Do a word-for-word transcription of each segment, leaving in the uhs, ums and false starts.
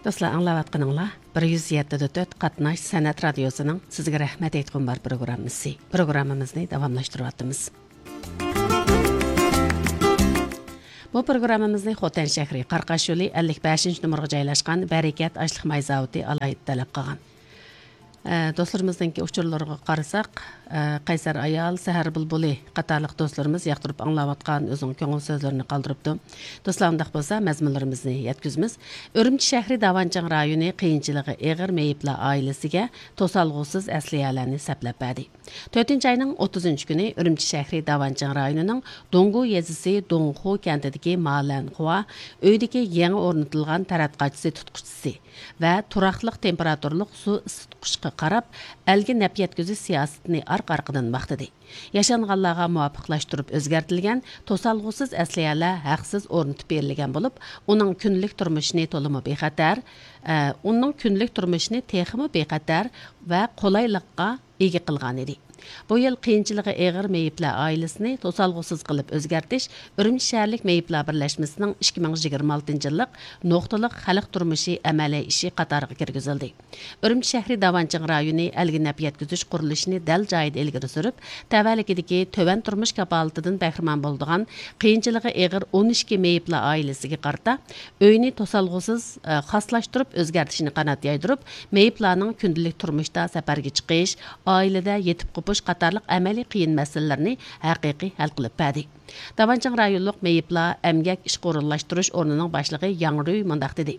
دوستلار، ئاڭلاۋاتقىنىڭلار بىر يۈز يەتتە دە تۆت قاتناش سەنئەت رادىيوسىنىڭ سىزگە رەھمەت ئېيتقۇم بار پروگراممىسى. پروگراممىمىزنى داۋاملاشتۇرۇۋاتىمىز. بۇ پروگراممىمىزنى خوتەن شەھىرى، قاراقاش يولى ئەللىك بەشىنچى نومۇرغا جايلاشقان بەرىكەت ئاشلىق ماي زاۋۇتى ئالاھىدە تەلەپ قىلغان. ئە، دوستلىرىمىزنىڭكى ئۇچۇرلىرىغا قارىساق، ئە، قەيسەر ئايال، سەھەر بۇلبۇلى قاتارلىق دوستلىرىمىز ياقتۇرۇپ ئاڭلاۋاتقان ئۆزىنىڭ كۆڭۈل سۆزلىرىنى قالدۇرۇپتۇ. دوستلار، ئۇنداق بولسا مەزمۇنلىرىمىزنى يەتكۈزىمىز. ئۈرۈمچى شەھىرى داۋانچىڭ رايونى قىيىنچىلىقى ئېغىر مېيىپلار ئائىلىسىگە توسالغۇسىز ئەسلىھەلەرنى سەپلەپ بەردى. تۆتىنچى ئاينىڭ ئوتتۇزىنچى كۈنى ئۈرۈمچى شەھىرى داۋانچىڭ رايونىنىڭ دۇڭگۇ يېزىسى دۇڭخۇ كەنتىدىكى مالەن خۇا ئۆيدىكى يېڭى ئورنىتىلغان تەرەت قاچىسى تۇتقۇچىسى ۋە تۇراقلىق تېمپېراتۇرلۇق سۇ ئىسسىتقۇچقا قاراپ، ئەلگە نەپ يەتكۈزۈش سىياسىتىنى ئارقا-ئارقىدىن ماختىدى. ياشانغانلارغا مۇۋاپىقلاشتۇرۇپ ئۆزگەرتىلگەن توسالغۇسىز ئەسلىھەلەر ھەقسىز ئورنىتىپ بېرىلگەن بولۇپ، ئۇنىڭ كۈندىلىك تۇرمۇشىنى تولىمۇ بىخەتەر، ئە، ئۇنىڭ كۈندىلىك تۇرمۇشىنى تېخىمۇ بىخەتەر ۋە قولايلىققا ئىگە قىلغانىدى. بۇ يىل قىيىنچىلىقى ئېغىر مېيىپلەر ئائىلىسىنى توسالغۇسىز قىلىپ ئۆزگەرتىش ئۈرۈمچى شەھەرلىك مېيىپلار بىرلەشمىسىنىڭ ئىككى مىڭ يىگىرمە ئالتىنچى يىللىق نۇقتىلىق خەلق تۇرمۇشى ئەمەلىي ئىشى قاتارىغا كىرگۈزۈلدى. ئۈرۈمچى شەھىرى داۋانچىڭ رايونى ئەلگە نەپ يەتكۈزۈش قۇرۇلۇشىنى دەل جايىدا ئىلگىرى سۈرۈپ، تەۋەلىكىدىكى تۆۋەن تۇرمۇش كاپالىتىدىن بەھرىمەن بولىدىغان قىيىنچىلىقى ئېغىر ئون ئىككى مېيىپلار ئائىلىسىگە قارىتا ئۆينى توسالغۇسىز، ئە، خاسلاشتۇرۇپ ئۆزگەرتىشنى قانات يايدۇرۇپ، مېيىپلارنىڭ كۈندىلىك تۇرمۇشتا سەپەرگە چىقىش، ئائىلىدە يېتىپ قوپۇش قاتارلىق ئەمەلىي قىيىن مەسىلىلىرىنى ھەقىقىي ھەل قىلىپ بەردى. داۋانچىڭ رايونلۇق مېيىپلار ئەمگەك ئىشقا ئورۇنلاشتۇرۇش ئورنىنىڭ باشلىقى ياڭ رۈي مۇنداق دېدى: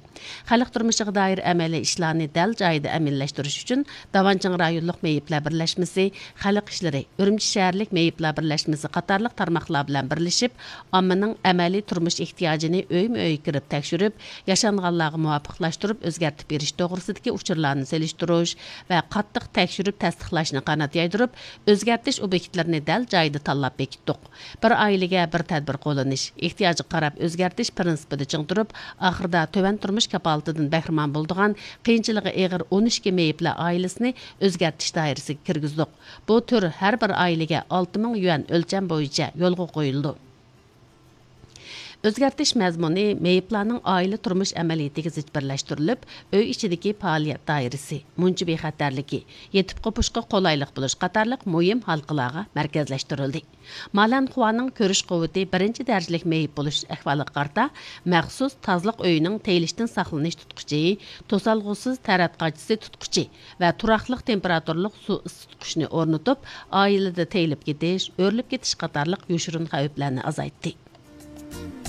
خەلق تۇرمۇشىغا دائىر ئەمەلىي ئىشلارنى دەل جايىدا ئەمەلىيلەشتۈرۈش ئۈچۈن داۋانچىڭ رايونلۇق مېيىپلەر بىرلەشمىسى، خەلق ئىشلىرى، ئۈرۈمچى شەھەرلىك مېيىپلار بىرلەشمىسى قاتارلىق تارماقلار بىلەن بىرلىشىپ، ئاممىنىڭ ئەمەلىي تۇرمۇش ئېھتىياجىنى ئۆيمۇ ئۆيگە كىرىپ تەكشۈرۈپ، ياشانغانلارغا مۇۋاپىقلاشتۇرۇپ ئۆزگەرتىپ بېرىش توغرىسىدىكى ئۇچۇرلارنى سېلىشتۇرۇش ۋە قاتتىق تەكشۈرۈپ تەستىقلاشنى قانات يايدۇرۇپ، ئۆزگەرتىش ئوبيېكتلىرىنى دەل جايىدا تاللاپ بېكىتتۇق. بىر ئائىلىگە بىر تەدبىر قوللىنىش، ئېھتىياجغا قاراپ ئۆزگەرتىش پىرىنسىپىدا چىڭ تۇرۇپ، ئاخىرىدا تۆۋەن تۇرمۇش كاپالىتىدىن بەھرىمەن بولىدىغان قىيىنچىلىقى ئېغىر ئون ئىككى مېيىپلەر ئائىلىسىنى ئۆزگەرتىش دائىرىسىگە كىرگۈزدۇق. بۇ تۈر ھەر بىر ئائىلىگە ئالتە مىڭ يۈەن ئۆلچەم بويىچە يولغا قويۇلىدۇ. ئۆزگەرتىش مەزمۇنى مېيىپلارنىڭ ئائىلە تۇرمۇش ئەمەلىيىتىگە زىچ بىرلەشتۈرۈلۈپ، ئۆي ئىچىدىكى پائالىيەت دائىرىسى، مۇنچە بىخەتەرلىكى، يېتىپ قوپۇشقا قولايلىق بولۇش قاتارلىق مۇھىم ھالقىلارغا مەركەزلەشتۈرۈلدى. مالەن خۇانىڭ كۆرۈش قۇۋۋىتى بىرىنچى دەرىجىلىك مېيىپ بولۇش ئەھۋالىغا قارىتا، مەخسۇس تازىلىق ئۆيىنىڭ تېيىلىشتىن ساقلىنىش تۇتقۇچى، توسالغۇسىز تەرەت قاچىسى تۇتقۇچى ۋە تۇراقلىق تېمپېراتۇرىلىق سۇ ئىسسىتقۇچنى ئورنىتىپ، ئائىلىدە تېيىلىپ كېتىش، ئۆرۈلۈپ كېتىش قاتارلىق يوشۇرۇن خەۋپلەرنى ئازايتتى.